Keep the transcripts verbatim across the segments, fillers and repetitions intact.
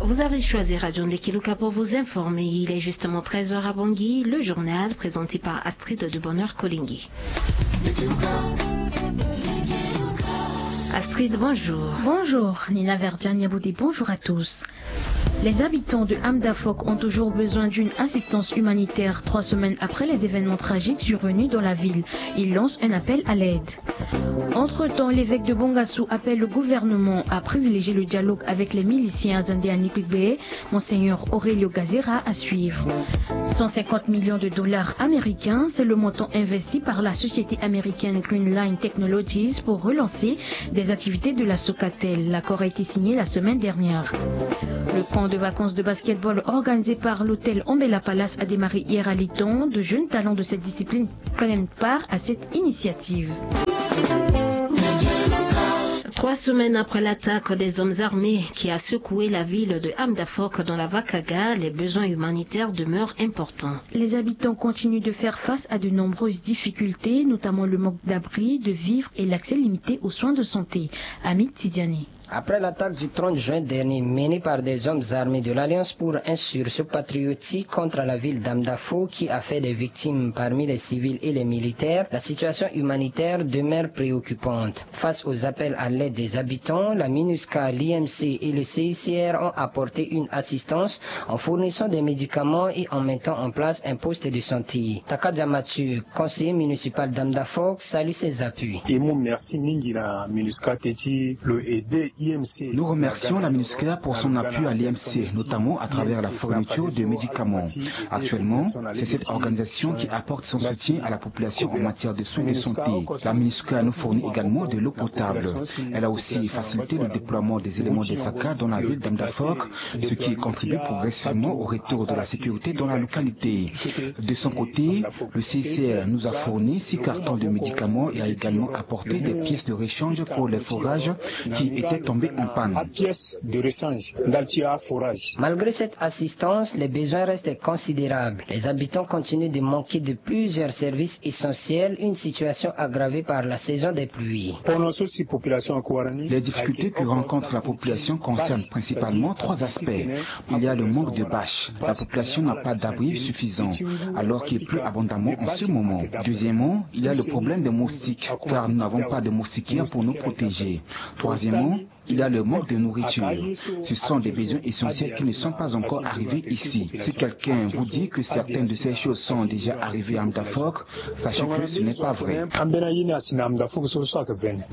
Vous avez choisi Radio Ndekiluka pour vous informer. Il est justement treize heures à Bangui. Le journal présenté par Astrid de Bonheur Kolingui. Astrid, bonjour. Bonjour, Nina Verdiane Yaboudi, bonjour à tous. Les habitants de Hamdafok ont toujours besoin d'une assistance humanitaire trois semaines après les événements tragiques survenus dans la ville. Ils lancent un appel à l'aide. Entre-temps, l'évêque de Bongassou appelle le gouvernement à privilégier le dialogue avec les miliciens Azande à Nikbé. Monseigneur Aurelio Gazera à suivre. Cent cinquante millions de dollars américains, c'est le montant investi par la société américaine Green Line Technologies pour relancer des activités de la Socatel. L'accord a été signé la semaine dernière. Le camp de vacances de basketball organisé par l'hôtel Ombela Palace a démarré hier à Liton. De jeunes talents de cette discipline prennent part à cette initiative. Trois semaines après l'attaque des hommes armés qui a secoué la ville de Hamdafok dans la Vakaga, les besoins humanitaires demeurent importants. Les habitants continuent de faire face à de nombreuses difficultés, notamment le manque d'abri, de vivres et l'accès limité aux soins de santé. Amit Tidiane. Après l'attaque du trente juin dernier menée par des hommes armés de l'Alliance pour un sursaut patriotique contre la ville d'Hamdafok qui a fait des victimes parmi les civils et les militaires, la situation humanitaire demeure préoccupante. Face aux appels à l'aide des habitants, la MINUSCA, l'I M C et le C I C R ont apporté une assistance en fournissant des médicaments et en mettant en place un poste de santé. Takadia Mathieu, conseiller municipal d'Hamdafok, salue ces appuis. Nous remercions la MINUSCA pour son appui à l'I M C, notamment à travers la fourniture de médicaments. Actuellement, c'est cette organisation qui apporte son soutien à la population en matière de soins de santé. La MINUSCA nous fournit également de l'eau potable. Elle a aussi facilité le déploiement des éléments de FACA dans la ville d'Hamdafok, ce qui contribue progressivement au retour de la sécurité dans la localité. De son côté, le C I C R nous a fourni six cartons de médicaments et a également apporté des pièces de rechange pour les forages qui étaient tombés en panne. Malgré cette assistance, les besoins restent considérables. Les habitants continuent de manquer de plusieurs services essentiels, une situation aggravée par la saison des pluies. Les difficultés que rencontre la population concernent principalement trois aspects. Il y a le manque de bâches. La population n'a pas d'abri suffisant, alors qu'il pleut abondamment en ce moment. Deuxièmement, il y a le problème des moustiques, car nous n'avons pas de moustiquaires pour nous protéger. Troisièmement, il y a le manque de nourriture. Ce sont des besoins essentiels qui ne sont pas encore arrivés ici. Si quelqu'un vous dit que certaines de ces choses sont déjà arrivées à Hamdafok, sachez que ce n'est pas vrai.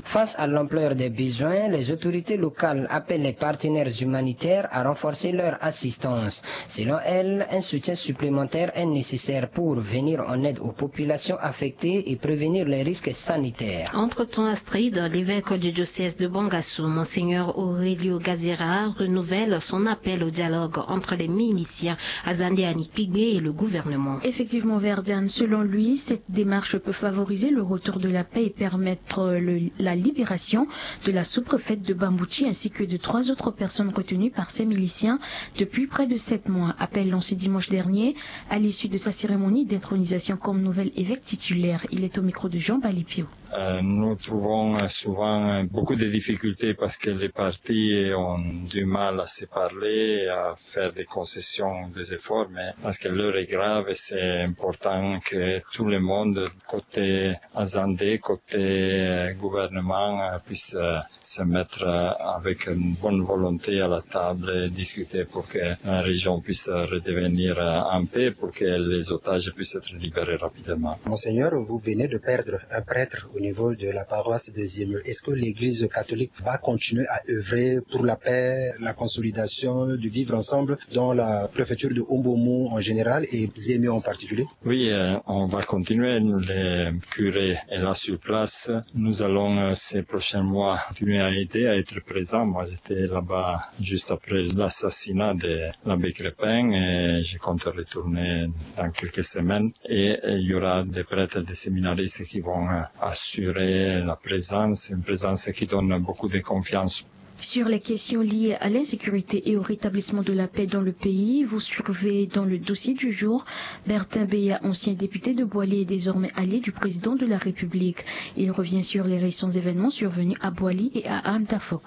Face à l'ampleur des besoins, les autorités locales appellent les partenaires humanitaires à renforcer leur assistance. Selon elles, un soutien supplémentaire est nécessaire pour venir en aide aux populations affectées et prévenir les risques sanitaires. Entre-temps, Astrid, l'évêque du diocèse de Bongassou, Monseigneur Aurelio Gazera, renouvelle son appel au dialogue entre les miliciens Azande à Nikpigbe et le gouvernement. Effectivement, Verdiane, selon lui, cette démarche peut favoriser le retour de la paix et permettre le- la libération de la sous-préfète de Bambouchi ainsi que de trois autres personnes retenues par ces miliciens depuis près de sept mois. Appel lancé dimanche dernier à l'issue de sa cérémonie d'intronisation comme nouvel évêque titulaire. Il est au micro de Jean Balipio. Euh, nous trouvons euh, souvent euh, beaucoup de difficultés parce que les partis ont du mal à se parler, à faire des concessions, des efforts, mais parce que l'heure est grave et c'est important que tout le monde, côté Azande, côté euh, gouvernement, euh, puisse euh, se mettre euh, avec une bonne volonté à la table et discuter pour que la région puisse redevenir euh, en paix, pour que les otages puissent être libérés rapidement. Monseigneur, vous venez de perdre un prêtre au niveau de la paroisse de Ziemio. Est-ce que l'Église catholique va continuer à œuvrer pour la paix, la consolidation, du vivre ensemble dans la préfecture de Mbomou en général et Ziemio en particulier ? Oui, euh, on va continuer. Le curé est là sur place. Nous allons euh, ces prochains mois continuer à aider, à être présents. Moi, j'étais là-bas juste après l'assassinat de l'abbé Crépin et je compte retourner dans quelques semaines. Et euh, il y aura des prêtres, des séminaristes qui vont euh, assurer la présence, une présence qui donne beaucoup de confiance. Sur les questions liées à l'insécurité et au rétablissement de la paix dans le pays, vous suivez dans le dossier du jour Bertin Beya, ancien député de Boali et désormais allié du président de la République. Il revient sur les récents événements survenus à Boali et à Hamdafok.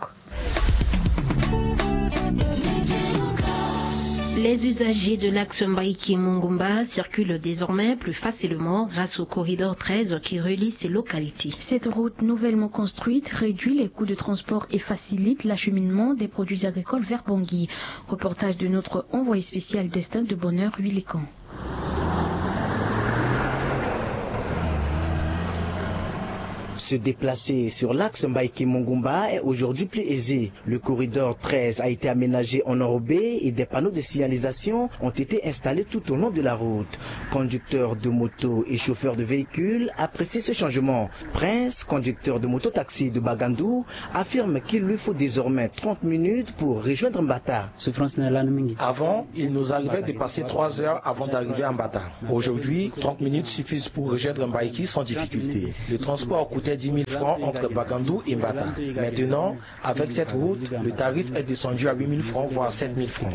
Les usagers de l'axe Mbaïki-Mungumba circulent désormais plus facilement grâce au corridor treize qui relie ces localités. Cette route nouvellement construite réduit les coûts de transport et facilite l'acheminement des produits agricoles vers Bangui. Reportage de notre envoyé spécial Destin de Bonheur Huilican. Se déplacer sur l'axe Mbaïki-Mungumba est aujourd'hui plus aisé. Le corridor treize a été aménagé en enrobé et des panneaux de signalisation ont été installés tout au long de la route. Conducteurs de moto et chauffeurs de véhicules apprécient ce changement. Prince, conducteur de mototaxi de Bagandou, affirme qu'il lui faut désormais trente minutes pour rejoindre Mbata. Avant, il nous arrivait de passer trois heures avant d'arriver à Mbata. Aujourd'hui, trente minutes suffisent pour rejoindre Mbaïki sans difficulté. Le transport coûtait dix mille francs entre Bagandou et Mbata. Maintenant, avec cette route, le tarif est descendu à huit mille francs, voire sept mille francs.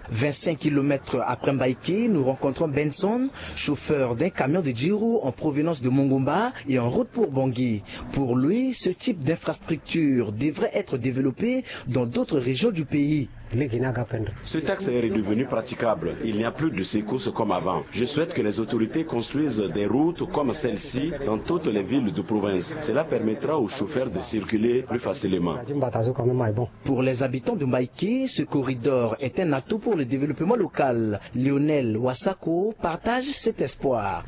Vingt-cinq kilomètres après Mbaïki, nous rencontrons Benson, chauffeur d'un camion de dix roues en provenance de Mungumba et en route pour Bangui. Pour lui, ce type d'infrastructure devrait être développé dans d'autres régions du pays. Ce taxe est redevenu praticable. Il n'y a plus de secousses comme avant. Je souhaite que les autorités construisent des routes comme celle-ci dans toutes les villes de province. Cela permettra aux chauffeurs de circuler plus facilement. Pour les habitants de Mbaïki, ce corridor est un atout pour le développement local. Lionel Wasako partage cet espoir.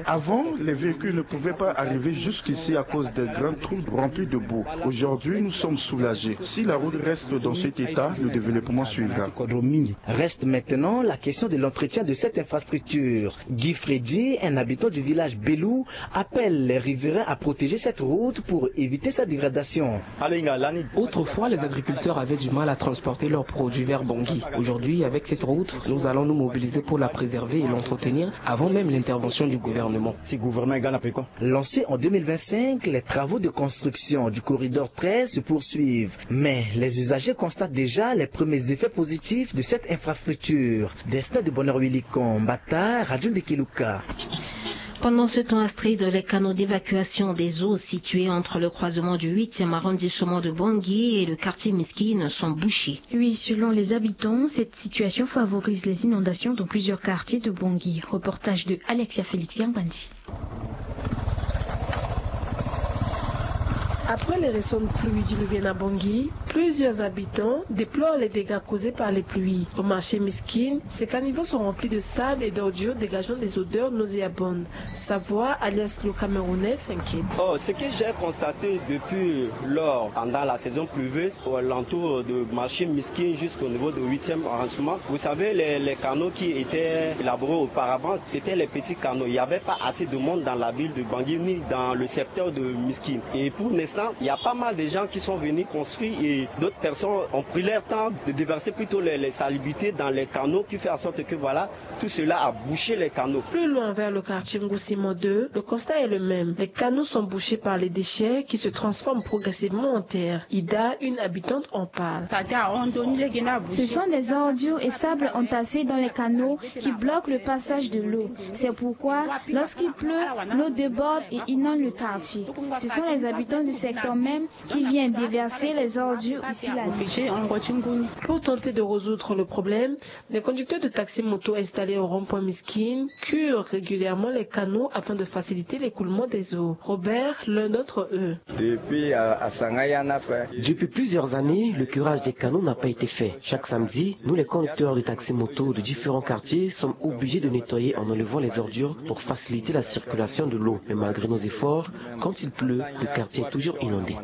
Avant, les véhicules ne pouvaient pas arriver jusqu'ici à cause des grands trous remplis de boue. Aujourd'hui, nous sommes soulagés. Si la route reste dans cet état, le développement suivra. Reste maintenant la question de l'entretien de cette infrastructure. Guy Freddy, un habitant du village Belou, appelle les riverains à protéger cette route pour éviter sa dégradation. Autrefois, les agriculteurs avaient du mal à transporter leurs produits vers Bangui. Aujourd'hui, avec cette route, nous allons nous mobiliser pour la préserver et l'entretenir avant même l'intervention du gouvernement. Lancée en deux mille vingt-cinq, les travaux de construction du corridor treize se poursuivent. Mais les usagers constatent déjà les premiers effets positifs de cette infrastructure. Destin de Bonheur Willy Kombata, Radio Ndekeluka. Pendant ce temps, Astrid, les canaux d'évacuation des eaux situés entre le croisement du huitième arrondissement de Bangui et le quartier Miskine sont bouchés. Oui, selon les habitants, cette situation favorise les inondations dans plusieurs quartiers de Bangui. Reportage de Alexia Félix Yangbandi. Après les récentes pluies diluviennes à Bangui, plusieurs habitants déplorent les dégâts causés par les pluies. Au marché Miskine, ces caniveaux sont remplis de sable et d'ordures dégageant des odeurs nauséabondes. Savoie, alias le Camerounais, s'inquiète. Oh, ce que j'ai constaté depuis lors, pendant la saison pluvieuse, aux alentours de marché Miskine jusqu'au niveau de huitième arrondissement, vous savez, les, les canaux qui étaient élaborés auparavant, c'était les petits canaux. Il n'y avait pas assez de monde dans la ville de Bangui ni dans le secteur de Miskine. Et pour l'instant, il y a pas mal de gens qui sont venus construire et d'autres personnes ont pris leur temps de déverser plutôt les, les salubrités dans les canaux qui fait en sorte que, voilà, tout cela a bouché les canaux. Plus loin, vers le quartier Ngoussimo deux, le constat est le même. Les canaux sont bouchés par les déchets qui se transforment progressivement en terre. Ida, une habitante, en parle. Ce sont des ordures et sables entassés dans les canaux qui bloquent le passage de l'eau. C'est pourquoi, lorsqu'il pleut, l'eau déborde et inonde le quartier. Ce sont les habitants du secteur même qui viennent déverser les ordures ici la nuit. Pour tenter de résoudre le problème, les conducteurs de taxi-moto installés au rond-point Miskine curent régulièrement les canaux afin de faciliter l'écoulement des eaux. Robert, l'un d'entre eux. Depuis, euh, Asanga Yana, quoi. Depuis plusieurs années, le curage des canaux n'a pas été fait. Chaque samedi, nous, les conducteurs de taxi-moto de différents quartiers, sommes obligés de nettoyer en enlevant les ordures pour faciliter la circulation de l'eau. Mais malgré nos efforts, quand il pleut, le quartier est toujours inondé.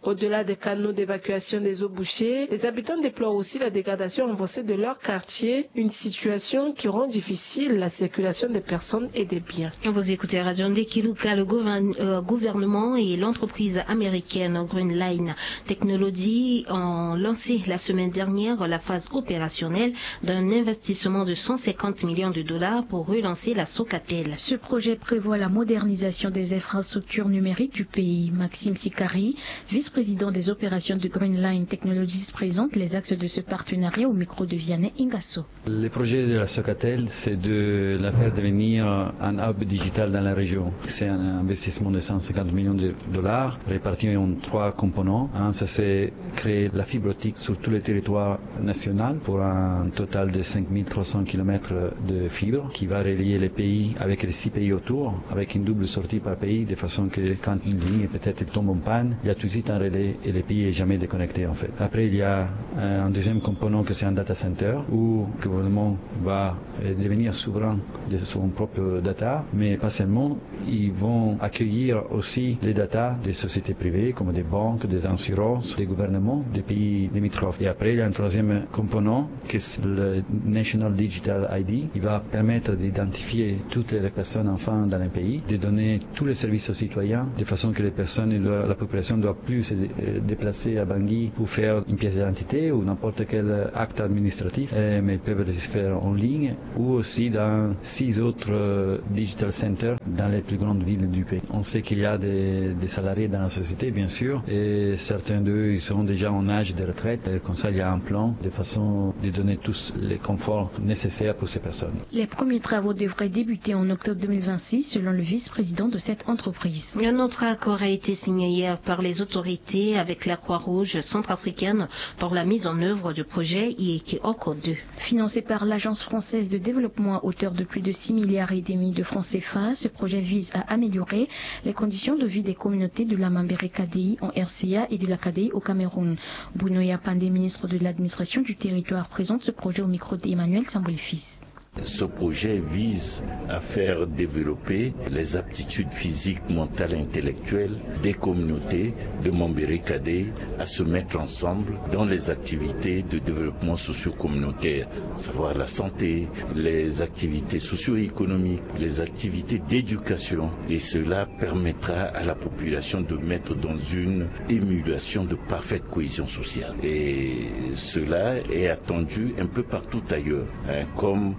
Au-delà des canaux d'évacuation des eaux bouchées, les habitants déplorent aussi la dégradation avancée de leur quartier, une situation qui rend difficile la circulation des personnes et des biens. Vous écoutez Radio Ndekeluka. Le gouvern-, euh, gouvernement et l'entreprise américaine Green Line Technology ont lancé la semaine dernière la phase opérationnelle d'un investissement de cent cinquante millions de dollars pour relancer la Socatel. Ce projet prévoit la modernisation des infrastructures numériques du pays. Maxime Sikari, vice-président Président des opérations de Green Line Technologies présente les axes de ce partenariat au micro de Vianney Ingasso. Le projet de la Socatel, c'est de la faire devenir un hub digital dans la région. C'est un investissement de cent cinquante millions de dollars réparti en trois components. Un, ça c'est créer la fibre optique sur tout le territoire national pour un total de cinq mille trois cents kilomètres de fibre qui va relier les pays avec les six pays autour, avec une double sortie par pays, de façon que quand une ligne peut-être tombe en panne, il y a tout de suite un relais et le pays est jamais déconnecté en fait. Après, il y a euh, un deuxième component que c'est un data center où le gouvernement va euh, devenir souverain de son propre data, mais pas seulement. Ils vont accueillir aussi les data des sociétés privées comme des banques, des assurances, des gouvernements, des pays limitrophes. Et après, il y a un troisième component qui est le National Digital I D. Il va permettre d'identifier toutes les personnes enfin dans un pays, de donner tous les services aux citoyens, de façon que les personnes, la population ne doit plus se euh, déplacer à Bangui pour faire une pièce d'identité ou n'importe quel acte administratif, euh, mais ils peuvent le faire en ligne ou aussi dans six autres euh, digital centers dans les plus grandes villes du pays. On sait qu'il y a des, des salariés dans la société, bien sûr, et certains d'eux, ils sont déjà en âge de retraite. Et comme ça, il y a un plan de façon de donner tous les conforts nécessaires pour ces personnes. Les premiers travaux devraient débuter en octobre deux mille vingt-six, selon le vice-président de cette entreprise. Un autre accord a été signé hier par les autorités avec la Croix-Rouge centrafricaine pour la mise en œuvre du projet Ieke Oko deux. Financé par l'Agence française de développement à hauteur de plus de six milliards et demi de francs C F A, ce projet vise à améliorer les conditions de vie des communautés de la Mambere Kadei en R C A et de la Kadei au Cameroun. Bruno Yapande, ministre de l'administration du territoire, présente ce projet au micro d'Emmanuel Samboy Fils. Ce projet vise à faire développer les aptitudes physiques, mentales et intellectuelles des communautés de Mambere Kadei à se mettre ensemble dans les activités de développement socio-communautaire, à savoir la santé, les activités socio-économiques, les activités d'éducation. Et cela permettra à la population de mettre dans une émulation de parfaite cohésion sociale. Et cela est attendu un peu partout ailleurs, hein, comme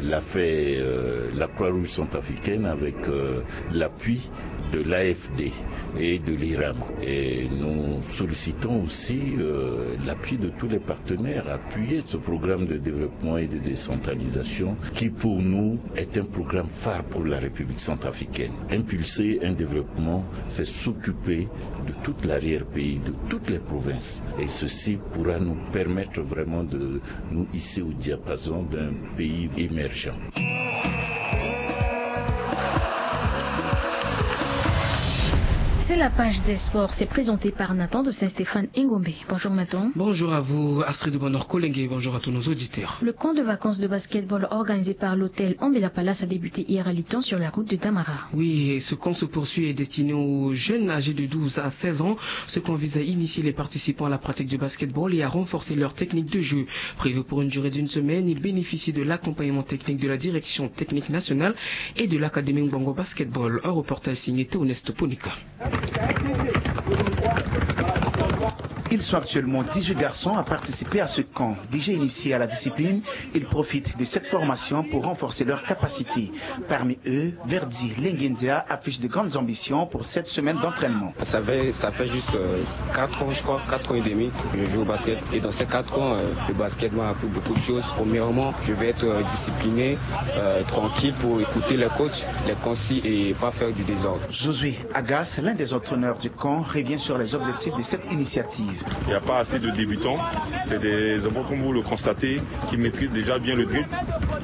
l'a fait euh, la Croix-Rouge centrafricaine avec euh, l'appui de l'A F D et de l'IRAM. Et nous sollicitons aussi euh, l'appui de tous les partenaires, appuyer ce programme de développement et de décentralisation qui pour nous est un programme phare pour la République centrafricaine. Impulser un développement, c'est s'occuper de tout l'arrière-pays, de toutes les provinces. Et ceci pourra nous permettre vraiment de nous hisser au diapason d'un pays émergent. C'est la page des sports, c'est présenté par Nathan de Saint-Stéphane Engombe. Bonjour Nathan. Bonjour à vous Astrid Bonheur Kolenge, bonjour à tous nos auditeurs. Le camp de vacances de basketball organisé par l'hôtel Ambela Palace a débuté hier à Litan sur la route de Damara. Oui, et ce camp se poursuit et est destiné aux jeunes âgés de douze à seize ans. Ce camp vise à initier les participants à la pratique du basketball et à renforcer leur technique de jeu. Prévu pour une durée d'une semaine, il bénéficie de l'accompagnement technique de la direction technique nationale et de l'académie Mbongo Basketball. Un reportage signé Théoneste Ponika. Ils sont actuellement dix-huit garçons à participer à ce camp. Déjà initiés à la discipline, ils profitent de cette formation pour renforcer leurs capacités. Parmi eux, Verdi Lengendia affiche de grandes ambitions pour cette semaine d'entraînement. Ça fait, ça fait juste euh, quatre ans, je crois, quatre ans et demi que je joue au basket. Et dans ces quatre ans, euh, le basket m'a appris beaucoup de choses. Premièrement, je vais être euh, discipliné, euh, tranquille pour écouter les coachs, les consignes et pas faire du désordre. Josué Agas, l'un des entraîneurs du camp, revient sur les objectifs de cette initiative. Il n'y a pas assez de débutants. C'est des enfants, comme vous le constatez, qui maîtrisent déjà bien le dribble,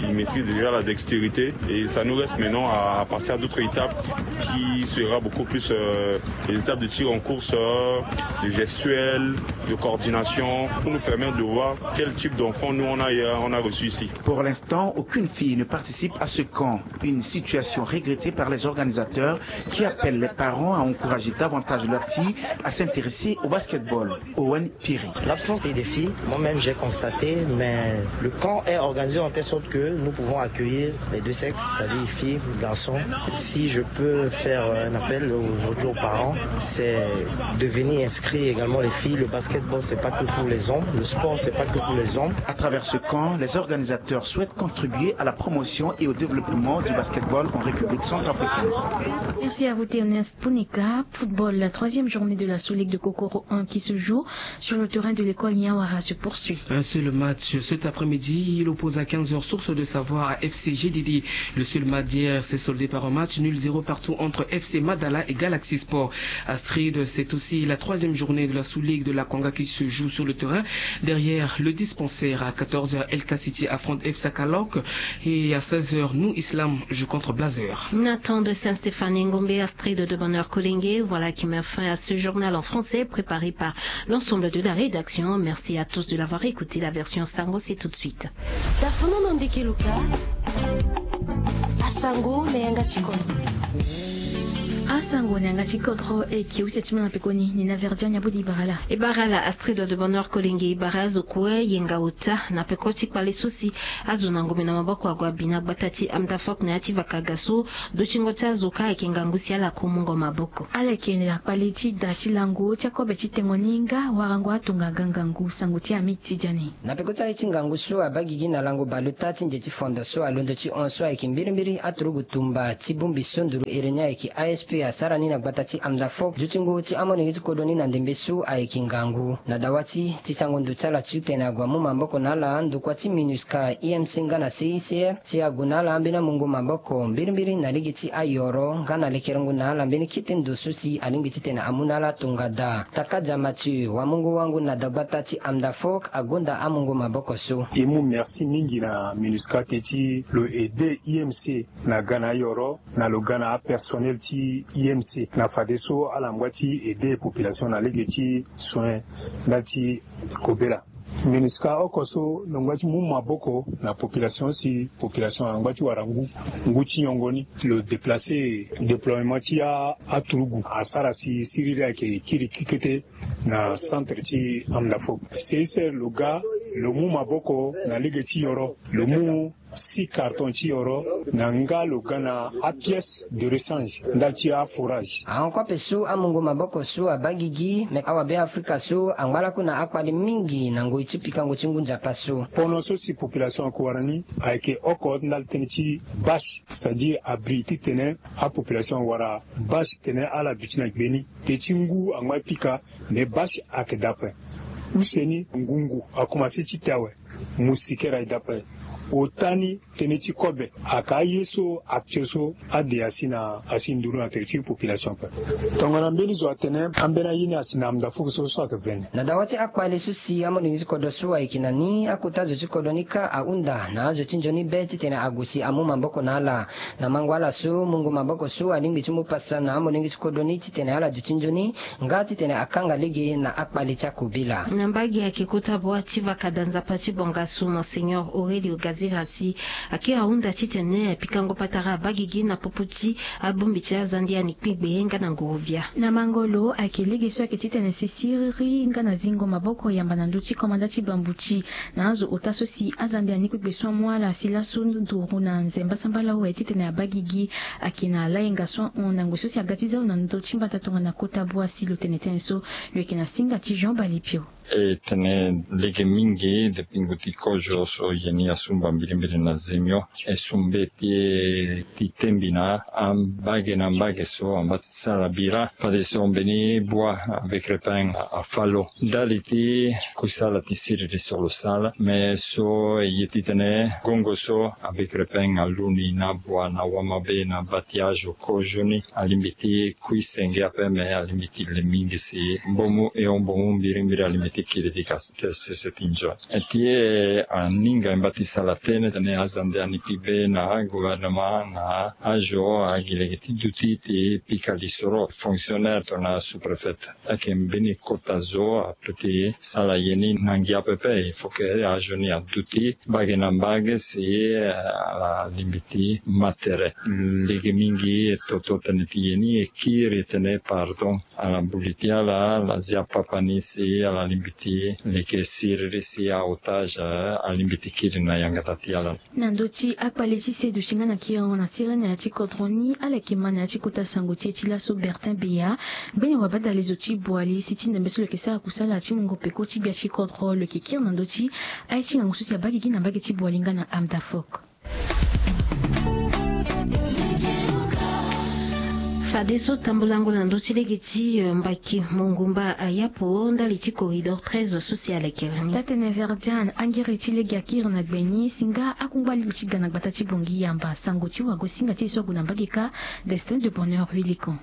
ils maîtrisent déjà la dextérité. Et ça nous reste maintenant à passer à d'autres étapes qui sera beaucoup plus euh, les étapes de tir en course, euh, de gestuelle, de coordination, pour nous permettre de voir quel type d'enfant nous on a, on a reçu ici. Pour l'instant, aucune fille ne participe à ce camp. Une situation regrettée par les organisateurs qui appellent les parents à encourager davantage leurs filles à s'intéresser au basketball. Owen Piri. L'absence des filles, moi-même j'ai constaté, mais le camp est organisé en telle sorte que nous pouvons accueillir les deux sexes, c'est-à-dire filles, garçons. Si je peux faire un appel aujourd'hui aux parents, c'est de venir inscrire également les filles. Le basketball, c'est pas que pour les hommes. Le sport, c'est pas que pour les hommes. À travers ce camp, les organisateurs souhaitent contribuer à la promotion et au développement du basketball en République centrafricaine. Merci à vous, Théoneste Punika. Football, la troisième journée de la sous-ligue de Kokoro un qui se joue sur le terrain de l'école Niawara se poursuit. Un seul match cet après-midi, il oppose à quinze heures Source de Savoir à F C G D D. Le seul match d'hier s'est soldé par un match nul zéro partout entre F C Madala et Galaxy Sport. Astrid, c'est aussi la troisième journée de la sous-ligue de la Conga qui se joue sur le terrain. Derrière le dispensaire à quatorze heures, L K City affronte F C Kalok et à seize heures, New Islam joue contre Blazer. Nathan de Saint-Stéphane Ngombe, Astrid de Bonheur Kolenge, voilà qui met fin à ce journal en français préparé par l'ensemble de la rédaction. Merci à tous de l'avoir écouté. La version Sango, c'est tout de suite. Tafono na ndeke luka. Asango na yanga tikoto. Asango na yanga tikoto e ki usia timana pekoni ni na verdia nyabudi barala. E barala Astrid de Bonheur Kolenge e bara azo kue yenga ota na peko ti kpale so si azo na ngombe na maboko ague abi na gbata ti Amdafok na ya ti vakaga so. Dutingo ti azo ka ayeke ngangu si ala ku mungo maboko. Ala yeke na kpale ti da ti lango ti akobe ti tengo ni nga warango atongaga ngangu sango ti ami ti dia ni. Na peko ti aye ti ngangu so abaa gigi na lango baleota ti nze ti fondo so alondo ti hon so ayeke mbirimbiri aturugu tumba ti bongbi so nduru ere ni ayeke A S P asara ni na gbata ti Amdafok dutingo ti amolenge ti kodro ni na ndembe so ayeke ngangu na dawa ti ti sango ndo ti ala titene ague amu maboko na ala ndokua ti MINUSCA, I M C nga na C I C R si ague na ala ambeni amungo maboko mbirimbiri na lege ti ayoro nga na lekerengo na ala mbeni kete ndo so si alingbi titene amu na ala tongada. Takadia Mathieu wamungo wango na dagbata ti Amdafok agonda amungo maboko so. E mu merci mingi na MINUSCA teti lo aide I M C na ga na ayoro na lo ga na apersonnel ti I M C na fadeso ala ngba ti aide population na lege ti soin ndali ti kobela. MINUSCA oko so lo ngba ti mu maboko na population si population angba ti wara ngu ngu ti nyongo ni. Lo déplacer déploiement ti aturugu asara si siriri ayeke kiri kikete na centre ti Amdafok. C I C R lo ga lo mu maboko na lege ti yoro lo mu six carton ti yoro na nga lo ga na apièce de rechange ndali ti afourage. Ahon kue ape so amungo maboko so abaa gigi me awabe afrika so angba lakue na akpale mingi na ngoi ti pikango ti ngu nzapa so. Pono so si population ayeke wara ni ayeke oko ndali tënë ti bâche c'est-à-dire abri titene apopulation awara bâche titene ala duti na gbe ni. Te ti ngu angba pika me bâche ayeke daa ape. Use ni ngungu akomanse ti te awe. Moustiquaire aye daa ape. Ota ni tënë ti kobe ayeke aye so actuel so ade asi na asi nduru na tere ti population ape. Tongana mbeni zo atene ambeni aye ni asi na Amdafok so so ayeke vene. Na dawa ti akpale so si amolenge ti kodro so ayeke na ni akota zo ti kodro ni kâ ahunda na azo ti nzoni be titene ague si amu maboko na ala. Na mango ala so mungo maboko so alingbi ti mu pasa na amolenge ti kodro ni titene ala duti nzoni nga titene akanga lege na akpale ti akobela. Na mbage ayeke kota bua ti vakada nzapa ti bongasu monseigneur Aurelio Gazira si akiri ahunda titene pikango patara abaa gigi na popo ti abongbi ti azande ya ni kpingbe nga na ngurubia. Na mango lo ayeke lege so ayeke titene si siriri nga na zingo maboko yamba na ndö ti komanda ti bambuti na azo ota so si azande ya ni kpingbe so amu ala si laso nduru na nze mbasambala awe titene abaa gigi. Ayeke na layenga so ahon na ngoi so si aga ti zau na ndö ti mbata tongana kota bua si lo tene tënë so. Lo yeke na singa ti Jean Balipio. E tene lege mingi depuis ngu ti kozo so ye ni asumba mbirimbiri na zemio e sumbe ti e ti tembi na ambage na ambage so amba ti sara bira fadeso mbeni bua avec repin afa lo ndali ti kusala ti siriri so lo sala me so e ye titene gongo so avec repin aluni na bua na wamabe na batiage kozo ni alingbi ti kui senge ape me alingbi ti le mingi si mbomu e o mbomu mbirimbiri alingbi ti kiri ti ka sese ti nzoni. E ti e aninga e mba ti sala Tene tene azande ani pibe na gouvernement na azo agi lege ti duti ti pika lisoro fonctionnaire tongana sous-préfet. Ayeke mbeni kota zo ape ti sala ye ni na ngia pepe. Il faut que azo ni aduti mbage na mbage si ala lingbi ti ma tere. Lege mingi toto tene ti ye ni e kiri tene pardon. Ala buli ti ala ala zia papa ni si ala lingbi ti leke siriri si aotage alingbi ti kiri na yangata ti ala. Na ndö ti akpale ti seduti nga na kirango na sirene na ya ti kodro ni ala yeke ma na ya ti kota sango ti e ti laso Bertin Beya. Mbeni wabadale zo ti Boali si ti ndembe so lo yeke sara kusala ti mungo peko ti gbia ti kodro lo yeke kiri na ndö ti aye ti ngangu so si abaa gigi na mbage ti Boali nga na Amdafok. Fadeso tambulango na ndö ti lege ti mbaki mongumba ayapo ndali ti corridor treize so si alekere ni. Tatene Verdiane angere ti lege akiri na gbe ni si nga akungba lingbi ti ga na gbata ti Bongi yamba sango ti wago singa ti e so ague na mbage kâ. Destin de bonheur huit licon.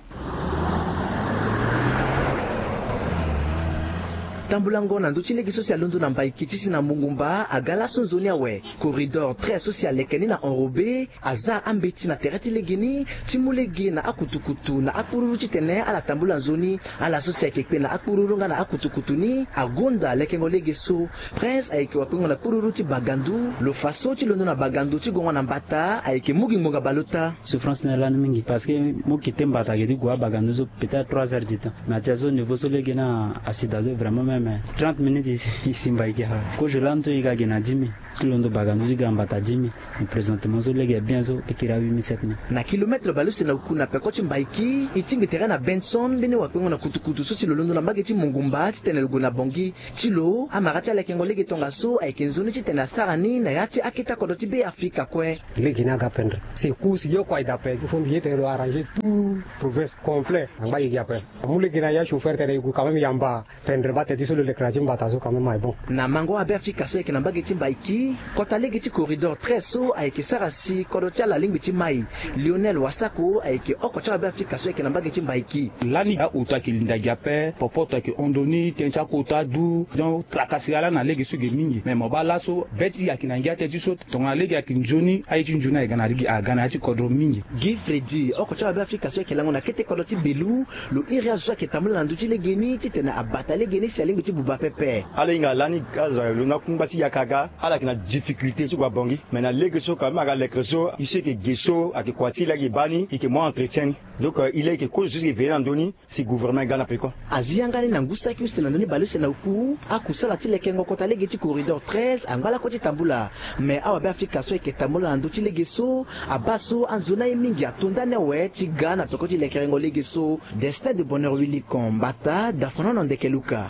Tambulango na ndö ti lege so si alondo na mbaiki ti si na mongumba aga laso nzoni awe. Corridor treize so si aleke ni na enrobé aza ambeti na tere ti lege ni ti mu lege na akutukutu na akpururu titene ala tambula nzoni. Ala so si ayeke kpe na akpururu nga na akutukutu ni agonda lekengo lege so. Prince ayeke wakpengo na kpururu ti Bagandu. Lo fa so ti londo na Bagandu ti gongo na mbata ayeke mu gi ngbonga baleota. Souffrance ni lani mingi parce que mo kite mbata ayeke ti gue aBagandu so peut-être trois heures du temps. Mais atia so niveau so lege ni asida so vraiment même trente minutes e si mbaiki. Kozo lani so e ga gi na dix mille. Ti londo Bagandu ti ga mbata dix mille. Mais présentement so lege bien so e kiri a huit mille, sept mille. Na kilomètre baleuse na oku na peko ti mbaiki e tingbi tere na Benson mbeni wakpengo na kutukutu so si lo londo na mbage ti mongumba titene lo gue na Bongi. Ti lo amara ti alekengo lege tongaso ayeke nzoni titene asara ni na ya ti akete akodro ti Be Afrika kue. Lege ni aga pendre. Secours yo kue aye daa ape. Il faut mbi ye tene lo arranger tout province complet na ngba gigi ape. Amu lege na ya chauffeur tene e gue quand même yamba pendre bate ti so lo lekere na ti mbata so quand même aye bon. Na mango aBe Afrika so ayeke na mbage ti mbaiki kota lege ti corridor treize so ayeke sara si kodro ti ala alingbi ti mai. Lionel Wasako ayeke oko ti awabe Afrika so ayeke na mbage ti mbaiki. Lani aoto ayeke linda gi ape, popoto ayeke hon ndoni, tënë ti akota du. Donc trakasiri ala na lege so ge mingi. Mais mo baa laso be ti e ayeke na ngia tënë ti so tongana lege ayeke nzoni aye ti nzoni ayeke ga na lege aga na ya ti kodro mingi. Guy Freddy oko ti awabe Afrika so ayeke lango na kete kodro ti Belu. Lo iri azo so ayeke tambula na ndö ti lege ni titene abata lege ni si alingbi ti buba pepe. Ala hinga lani azo ayeke londo na kungba ti yaka aga. Ala yeke na difficulté ti gue na Bongi. Mais na lege so quand même aga lekere so e so e yeke ge so ayeke kua ti e laa e yeke baa ni e yeke mu entretien ni. Donc e laa e yeke kozo so e yeke veiller na ndö ni si gouvernement e ga na peko. Azi yanga ni na ngu saki use na ndö ni baleuse na oku. Akusala ti lekengo kota lege ti corridor treize angba lakue ti tambula. Mais awabe Afrika so ayeke tambula na ndö ti lege so abaa so anzoni aye mingi ato ndani awe ti ga na peko ti lekerengo lege so. Destin de bonheur Willy Kon mbata dafonono ndeke luka.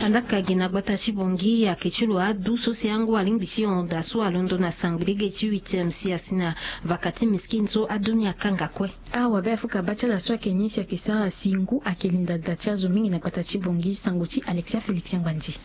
Andaka gi na gbata ti Bongi ayeke ti lo adu so si angu alingbi ti honda so alondo na sangbi lege ti huitième si asi na vaka ti miskine so adu ni akanga kue. Awabe Afrika abaa ti ala so ayeke ni si ayeke sara si ngu ayeke linda da ti azo mingi na gbata ti Bongi. Sango ti Alexia Félix Angbandi.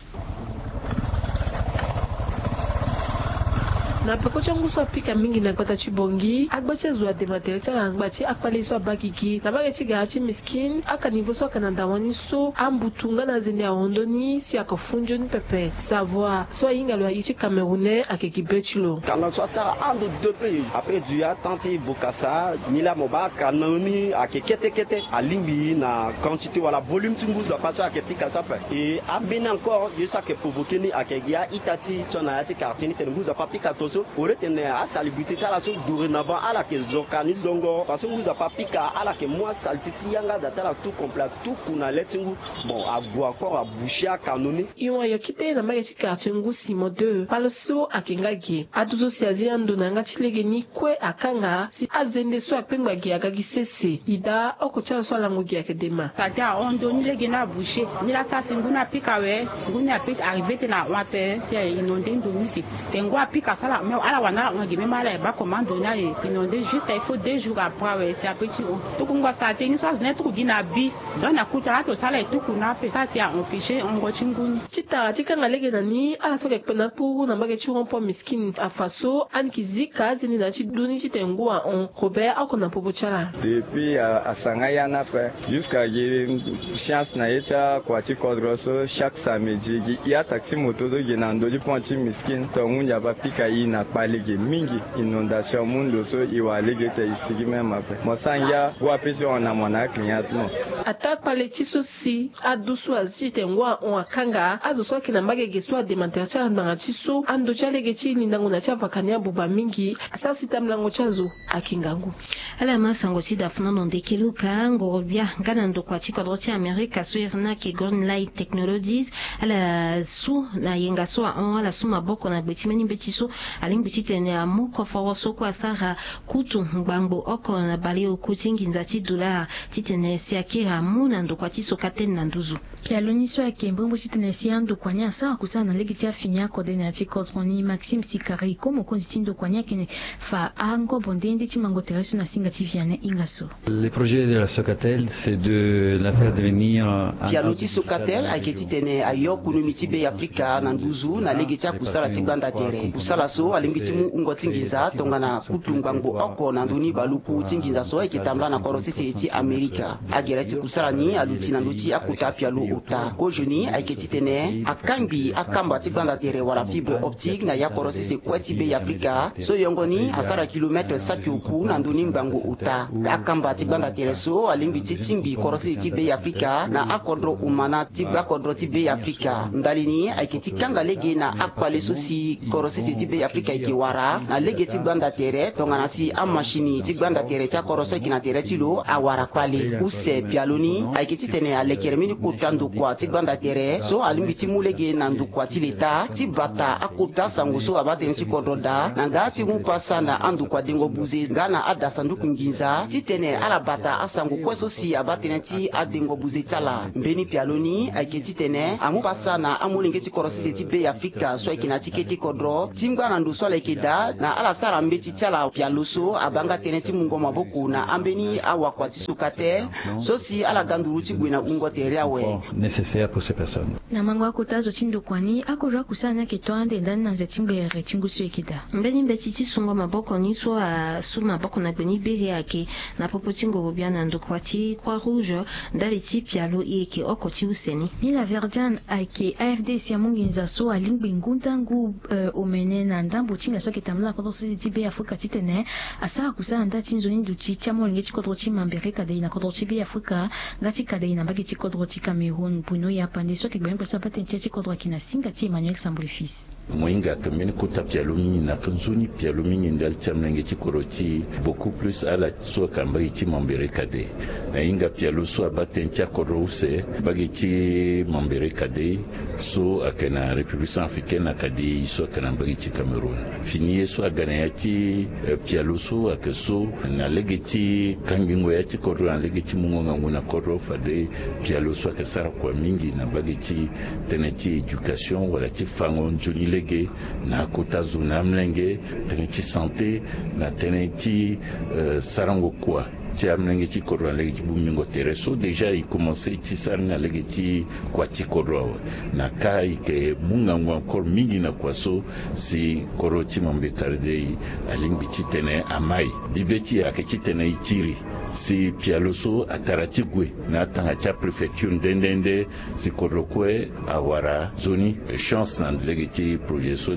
Na peko ti angu so apika mingi na gbata ti Bongi agba ti azo adema tere ti ala na ngba ti akpale so abaa gigi na mbage ti gara ti miskine. Akanivo so ayeke na dawani so ambutu nga na azende ahon ndoni si ayeke fu nzoni pepe. Savoie so ahinga lo aye ti Camerounais ayeke gi be ti lo. Kanal so asara entre deux pays après du ya temps ti Bokassa. Nilaa mo baa kanal ni ayeke kete kete alingbi na quantité wala volume ti ngu nzapa so ayeke pika so ape. E ambeni encore ye so ayeke provoqué ni ayeke gi a-ita ti tio na ya ti quartier ni tene ngu nzapa apika to so au lieu tene asalubrité ti ala so dorénavant ala yeke zo ka ni zongo parce que ngu nzapa apika ala yeke mu asalté ti yanga da ti ala tout complet atuku na le ti ngu. Bon ague encore abouché akano ni. E hon ayo kite na mbage ti quartier ngu Simon deux palo so ayeke nga ge adu so si azi ando na yanga ti lege ni kue akanga si azende so akpengba ge aga gi sese. E daa oko ti ala so alango ge ayeke dema. Tate ahon ndo ni lege ni abouché. Ni laa sara si ngu ni apika awe. Ngu ni ape ti arrivé tene ahon ape si a inondé ndo ni te. Tene ngu apika so ala me ala wara na ala hon gi même ala e baa comment ndo ni aye inondé juste il faut deux jours après awe si ape ti hon. Tuku ngu asara te ni so azo ni aye tuku gi na abi. Donc na kuta ato so ala e tuku na ape sara si ahon fiché hongo ti ngu ni. Ti tara ti kanga lege na ni ala so ayeke kpe na akpuru na mbage ti rond-point miskine afa so ani yeke zi ka azende na ya ti du ni titene ngu ahon. Robert oko na popo ti ala. Depuis asanga ya ni ape jusqu'à gi chance na ye ti akua ti kodro so chaque samedi gi i ataxi moto so gi na ndö ti pont ti miskine tonga ngu nzapa apika i na Akpale ge mingi. Inondation amu ndo so e wara lege ete e sigi même ape. Mo sara ngia gue ape si hon na mo na aclient ti mo. Ataa kpale ti so si adu so azi ti tene ngu ahon akanga azo so ayeke na mbage ge so adema tere ti ala ngbanga ti so ando ti alege ti lindango na ti avaka ni abuba mingi. Asara si tamlango ti azo ayeke ngangu. Ala ma sango ti dafuna na ndeke luka ngoro bia nga na ndokua ti kodro ti Amerika so e iri ni ayeke Green Light Technologies. Ala su na yenga so ahon ala su maboko na gbe ti mbeni mbeti so alingbi titene amu koforo so kue asara kutu ngbangbo oko na baleoko ti nginza ti dolar titene si akiri amu na ndokua ti Socatel na nduzu. Pialo ni so ayeke mbrimbri titene si andokua ni asara kusala na lege ti afini akode na ya ti kodro ni. Maxime Sikari, ko mokonzi ti ndokua ni ayeke fa angobo nde nde ti mango tere so na singa ti Vianney Ingasso. Le projet de la Socatel, c'est de la faire devenir un... Pialo ti Socatel ayeke titene ayo kunumi ti Be Afrika na nduzu na lege ti akusala ti gbanda tere. Kusala so alingbi ti mu wungo ti nginza tongana kutu ngbangbo oko na ndoni baluku ti nginza so ayeke tambula na kodro sese ti Amerika. Agere ti kusala ni aluti na ndö ti akota pialo ota. Kozoni ayeke titene akangbi akamba ti gbanda tere wala fibre optique na ya kodro sese kue ti Be Afrika so yongo ni asara kilometre saki oku na ndö ni ngbangbo ota. Akamba ti gbanda tere so alingbi ti tingbi kodro sese ti Be Afrika na akodro omana ti gbakodro ti Be Afrika. Ndali ni ayeke ti kanga lege na akpale so si kodro sese ti Be Afrika ayeke wara na lege ti gbanda tere tongana si amasini ti gbanda tere ti akodro so ayeke na tere ti lo awara kpale. Use pialo ni ayeke titene alekere mbeni kota ndokua ti gbanda tere so alingbi ti mu lege na ndokua ti leta ti bata akota sango so abaa tënë ti kodro daa na nga ti mu pasa na andokua dengo buze nga na adasanduku nginza titene ala bata asango kue so si abaa tënë ti adengo buze ti ala. Mbeni pialo ni ayeke titene amu pasa na amolenge ti kodro sese ti Be Afrika so ayeke na ti kete kodro ti ngba na ndo so ala yeke daa na ala sara mbeti ti ala. Pialo so abaa nga tënë ti mungo maboko na ambeni awakua ti Socatel so si ala ga nduru ti gue na wungo tere awe. Nécessaire pour ces personnes. Na mango akota zo ti ndokua ni, akozo akusala ni ayeke to ande ndani na nze ti ngbere ti ngu so e yeke daa. Mbeni mbeti ti sungo maboko ni so asu maboko na gbe ni bere ayeke na popo ti ngoro bia na ndokua ti Croix Rouge ndali ti pialo e yeke oko ti use ni. Nila Verdian ayeke A F D si amu nginza so alingbi ngu ndangu, eh, omene na ndambo ti hinga so ayeke tambula na kodro sese ti Be Afrika titene asara kusala na ndali ti nzoni duti ti amolenge ti kodro ti Mambere Kadei na kodro ti Be Afrika nga ti Kadei na mbage ti kodro ti Cameroun. Bruno Yapande so ayeke gbene gbene so abaa tënë ti ya ti kodro ayeke na singa ti Emmanuel Sambuli Fils. Mo hinga ayeke mbeni kota pialo mingi na nzoni pialo mingi ndali ti amolenge ti kodro ti beaucoup plus ala so ayeke na mbage ti Mambere Kadei. Na hinga pialo so abaa tënë ti akodro use mbage ti Mambere Kadei so ayeke na République Centrafricaine na Kadei so ayeke na mbage ti Cameroun. Fini ye so aga na ya ti, eh, pialo so ayeke so na lege ti kangbingo ya ti kodro na lege ti mungo ngangu na kodro fade pialo so ayeke sara kua mingi na mbage ti tënë ti éducation wala ti fango nzoni lege na akota zo na amolenge, tënë ti santé na tënë ti, eh, sarango kua ti amolenge ti kodro na lege ti bongbingo tere so déjà e commencé ti sara ni na lege ti kua ti kodro awe. Na ka e yeke mu ngangu encore mingi na kua so si kodro ti Mambere Kadei alingbi titene amai. Bibe ti e ayeke titene e tiri si pialo so atara ti gue na atanga ti apréfecture nde nde nde si kodro kue awara nzoni. Chance na lege ti projet so.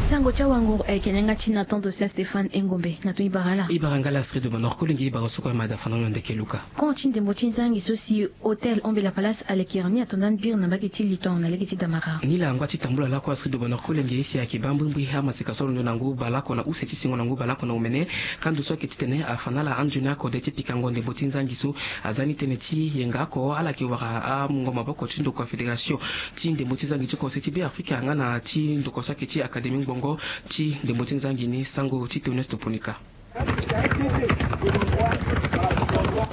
Sango ti awanguru ayeke na yanga ti Nathan de Saint Stéphane Engombe. Na tongana e bara ala, e bara nga la Astrid de Bonheur Kolenge, e bara so kue amada fana na ndeke Luka. Camp ti ndembo ti nzangi so si Hôtel Ombe la Palace alekere ni ato ndani biri na mbage ti Liton na lege ti Damara. Ni la angba ti tambula lakue Astrid de Bonheur Kolenge si ayeke baa mbrimbri amaseka so alondo na ngu baleoko na use ti sengo na ngu baleoko na omene. Kando so ayeke titene afa na ala anzoni akode ti pikango ndembo ti nzangi so aza ni tënë ti yenga oko ala yeke wara amungo maboko ti ndokua fédération ti ndembo ti nzangi ti kodro ti Be Afrika nga na ti ndokua so ayeke ti académie ngbongo ti ndembo ti nzangi ni, sango ti Théoneste Ponika.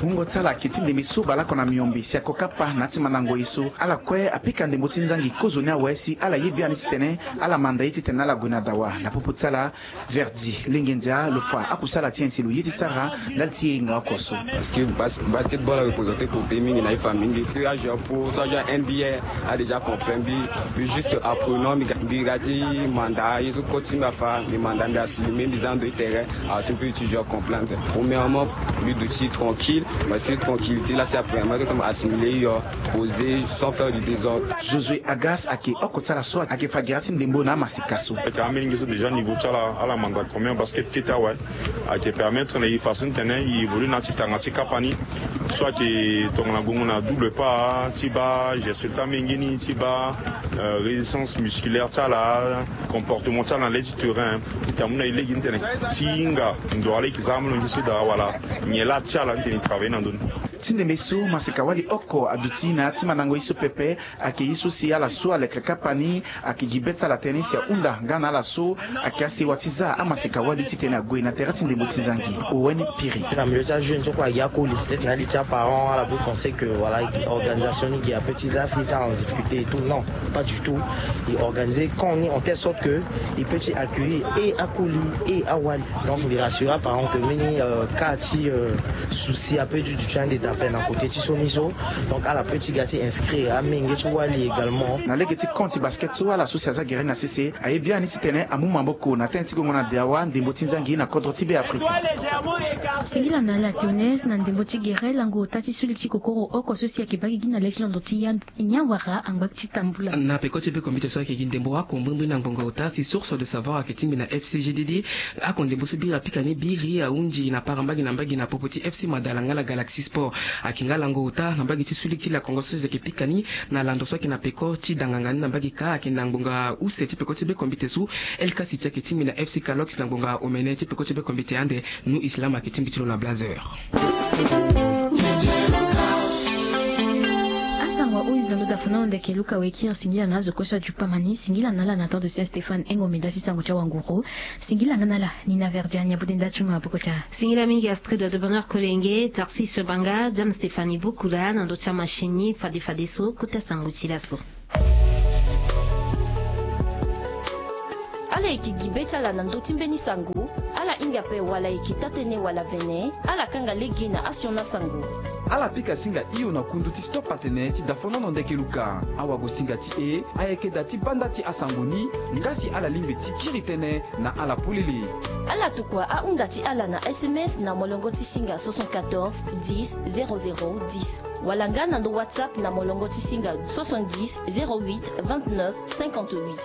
Wungo ti ala ayeke ti ndembe so baleoko na miombe si ako kapa na ya ti mandango ye so ala kue apika ndembo ti nzangi kozoni awe si ala ye biani titene ala manda ye titene ala gue na dawa. Na popo ti ala, Verdi Lenge Ndia lo fa akusala ti nyen si lo ye ti sara ndali ti yenga oko so? Parce que bas-, basketball a représenté côté mingi na ye fa mingi. Puis a joueur pro, so a joueur N B A, a déjà comprendre mbi. Puis juste apprenant, mbi ga, mbi ga ti manda ye so coach ti mbi afa, mbi manda, mbi assumer, mbi za ndo ti terrain. Ah, si mbi peut ti joueur comprendre. Premièrement, mbi duti tranquille. Mais c'est tranquillité là, c'est la première fois que je m'assimile, euh, posé, sans faire du désordre. Josué Agas ayeke oko ti ala so ayeke fa gere ti ndembo na amaseka so. Ayeke amolenge so déjà niveau ti ala, ala manda combien basket kete awe. Ayeke permettre na e façon ti tene e évolue na ya ti tanga ti kapa ni. So ayeke tongana gongo na double pas ti baa geste ti amolenge ni ti baa, euh, résistance musculaire ti ala, comportement ti ala na le ti terrain. E ti amu na e lege ni tene ti hinga ndo ala e yeke za amolenge so daa wala nyen laa ti ala ni tene e travailler na ndö ni. Ti ndembe so maseka wali oko aduti na ya ti mandango ye so pepe. Ayeke ye so si ala so aleke kapa ni ayeke gi be ti ala tënë ni si ahunda nga na ala so ayeke asewa ti za amaseka wali titene ague na tere ti ndembo ti nzangi. Owen Piri. Na milieu ti ajeune so kue agi akoli peut-être na ali ti aparent ala peut penser que voilà organisation ni gi ape ti za fi za en difficulté et tout, non, pas du tout. E organiser camp ni en telle sorte que e peut ti accueillir et akoli et awali. Donc mbi rassure aparent que mbeni, euh, cas ti, euh, souci ape ti duti ande d'appel na côté ti so ni so. Donc ala peut ti ga ti inscrire amenge ti wali également. Na lege ti camp ti basket so ala so si aza gere ni na sese aye biani titene amu maboko na tënë ti gongo na deawa ndembo ti nzangi na kodro ti Beafrika. Singila na ala Théoneste na ndembo ti gere lango ota ti suli ti kokoro oko so si ayeke baa gigi na le ti londo ti ya. Nyen wara angba ti tambula. Na peko ti be kombite so ayeke gi ndembo oko mbrimbri na ngbonga ota si Source de Savoir ayeke tingbi na F C G D D. Oko ndembo so biri apika ni biri ahunzi na para mbage na mbage na popo ti F C Madala nga la Galaxy Sport. Ayeke nga lango ota na mbage ti suli ti lakongo so si ayeke pika ni na lando so ayeke na peko ti danganga ni na mbage kâ ayeke na ngbonga use ti peko ti be kombite so. Elka City ayeke tingbi na F C Calox na ngbonga omene ti peko ti be kombite ande. Nu Islam ayeke tingbi ti lo na Blazer. Asango ahuiza lo dafono ndeke Luka wekiri singila na azo kue so ajupa mani singila na ala na temps de Saint Stéphane engo meda ti sango ti awanguru. Singila nga na ala ni na Verdiane ya bode nda ti maboko ti a. Singila mingi Astrid de Bonheur Kolenge, Tarsis Banga, Diane Stéphanie Bukula na ndö ti amachine ni fade fadeso kota sango ti laso. Ala yeke gi be ti ala na ndö ti mbeni sango. Ala hinga ape wala yeke taa-tënë wala vene. Ala kanga lege na asioni asango. Ala pika singa hio na kundu ti Stop Atene ti dafonono ndeke Luka. Awagosinga ti e ayeke da ti banda ti asango ni. Nga si ala lingbi ti kiri tënë na ala polele. Ala tokua ahunda ti ala na S M S na molongo ti singa soixante-quatorze dix zéro zéro dix. Wala nga na ndo WhatsApp na molongo ti singa soixante-dix zéro huit vingt-neuf cinquante-huit.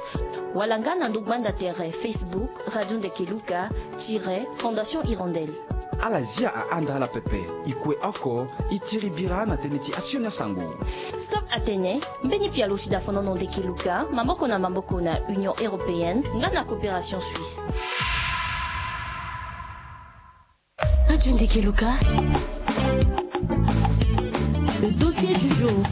Wala nga na ndo gbanda tere Facebook Radio Ndeke Luka tiret Fondation Hirondelle. Ala zia ahanda ala pepe. E kue oko e tiri bira na tënë ti asioni asango. Stop Atene, mbeni pialo ti dafonono ndeke Luka maboko na maboko na Union Européenne nga na Coopération Suisse. Radio Ndeke Luka. Le dossier du jour.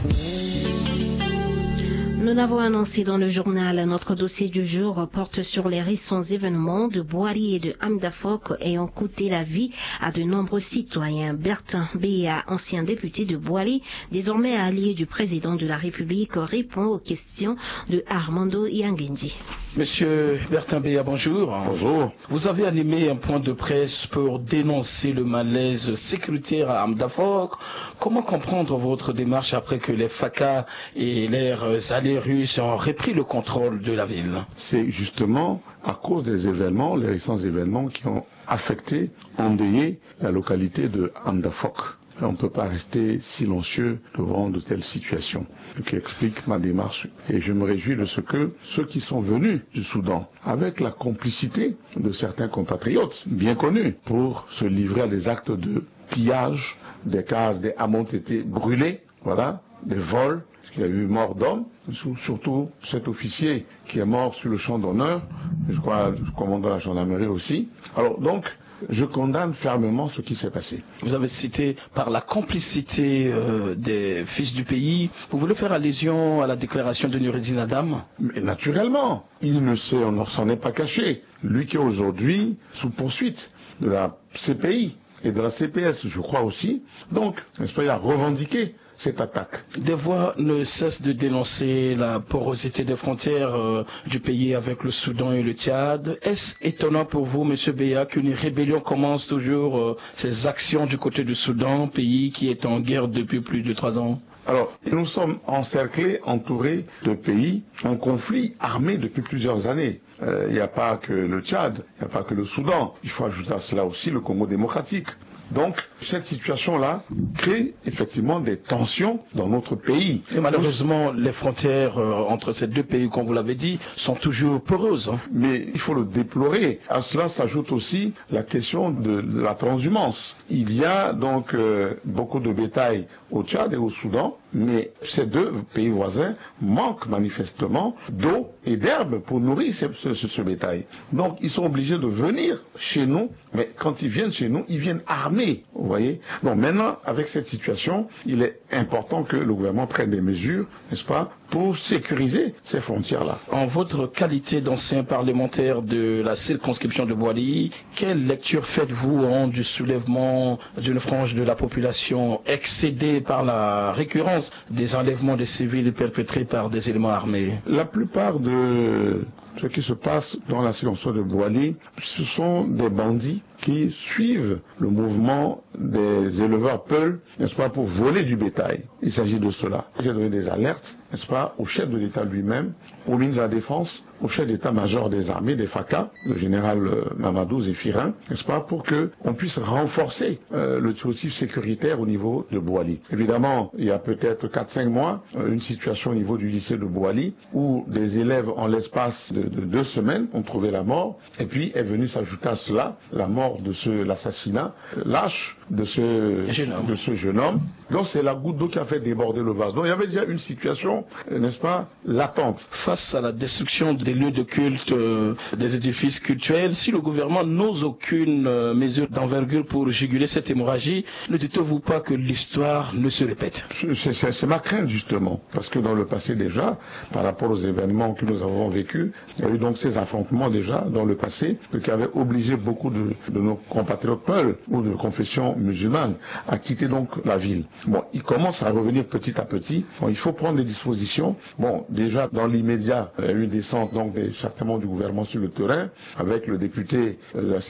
Nous l'avons annoncé dans le journal, notre dossier du jour porte sur les récents événements de Boali et de Amdafok ayant coûté la vie à de nombreux citoyens. Bertin Beya, ancien député de Boali, désormais allié du président de la République, répond aux questions de Armando Iangendi. Monsieur Bertin Beya, bonjour. Bonjour. Vous avez animé un point de presse pour dénoncer le malaise sécuritaire à Amdafok. Comment comprendre votre démarche après que les FACA et leurs alliés russes ont repris le contrôle de la ville ? C'est justement à cause des événements, les récents événements qui ont affecté, endeuillé la localité de Amdafok. On ne peut pas rester silencieux devant de telles situations, ce qui explique ma démarche. Et je me réjouis de ce que ceux qui sont venus du Soudan, avec la complicité de certains compatriotes bien connus, pour se livrer à des actes de pillage, des cases, des hameaux ont été brûlés, voilà, des vols, parce qu'il y a eu mort d'hommes, sur-, surtout cet officier qui est mort sur le champ d'honneur, je crois, le commandant de la gendarmerie aussi. Alors, donc, je condamne fermement ce qui s'est passé. Vous avez cité par la complicité, euh, des fils du pays. Vous voulez faire allusion à la déclaration de Noureddine Adam ? Mais naturellement, il ne s'est, on ne s'en est pas caché. Lui qui est aujourd'hui sous poursuite de la C P I et de la C P S, je crois aussi. Donc, n'est-ce pas, il a revendiqué cette attaque. Des voix ne cessent de dénoncer la porosité des frontières, euh, du pays avec le Soudan et le Tchad. Est-ce étonnant pour vous, Monsieur Beya, qu'une rébellion commence toujours, euh, ses actions du côté du Soudan, pays qui est en guerre depuis plus de trois ans ? Alors, nous sommes encerclés, entourés de pays en conflit armé depuis plusieurs années. Euh, il n'y a pas que le Tchad, il n'y a pas que le Soudan. Il faut ajouter à cela aussi le Congo démocratique. Donc, cette situation-là crée effectivement des tensions dans notre pays. Et malheureusement, les frontières euh, entre ces deux pays, comme vous l'avez dit, sont toujours poreuses, hein. Mais il faut le déplorer. À cela s'ajoute aussi la question de la transhumance. Il y a donc euh, beaucoup de bétail au Tchad et au Soudan, mais ces deux pays voisins manquent manifestement d'eau et d'herbe pour nourrir ce, ce- ce- ce bétail. Donc ils sont obligés de venir chez nous, mais quand ils viennent chez nous, ils viennent armés, vous voyez. Donc maintenant, avec cette situation, il est important que le gouvernement prenne des mesures, n'est-ce pas, pour sécuriser ces frontières-là. En votre qualité d'ancien parlementaire de la circonscription de Boali, quelle lecture faites-vous, hein, du soulèvement d'une frange de la population excédée par la récurrence des enlèvements de civils perpétrés par des éléments armés ? La plupart de ce qui se passe dans la circonscription de Boali, ce sont des bandits qui suivent le mouvement des éleveurs Peul, n'est-ce pas, pour voler du bétail. Il s'agit de cela. J'ai donné des alertes, n'est-ce pas, au chef de l'État lui-même, au ministre de la Défense, au chef d'état-major des armées, des FACA, le général euh, Mamadou Zéphirin, n'est-ce pas, pour que on puisse renforcer euh, le dispositif sécuritaire au niveau de Boali. Évidemment, il y a peut-être quatre cinq mois, euh, une situation au niveau du lycée de Boali où des élèves, en l'espace de, de deux semaines, ont trouvé la mort. Et puis est venue s'ajouter à cela la mort de ce, l'assassinat euh, lâche de ce, Jeune homme. de ce jeune homme. Donc c'est la goutte d'eau qui a fait déborder le vase. Donc il y avait déjà une situation, euh, n'est-ce pas, latente. Face à la destruction des lieux de culte, euh, des édifices cultuels, si le gouvernement n'ose aucune euh, mesure d'envergure pour juguler cette hémorragie, ne dites-vous pas que l'histoire ne se répète ? C'est- C'est c'est ma crainte justement, parce que dans le passé déjà, par rapport aux événements que nous avons vécus, il y a eu donc ces affrontements déjà dans le passé, ce qui avait obligé beaucoup de, de nos compatriotes Peul ou de confession musulmane à quitter donc la ville. Bon, ils commencent à revenir petit à petit. Bon, il faut prendre des dispositions. Bon, déjà dans l'immédiat, il y a eu une descente donc des, certainement du gouvernement sur le terrain avec le député euh, de la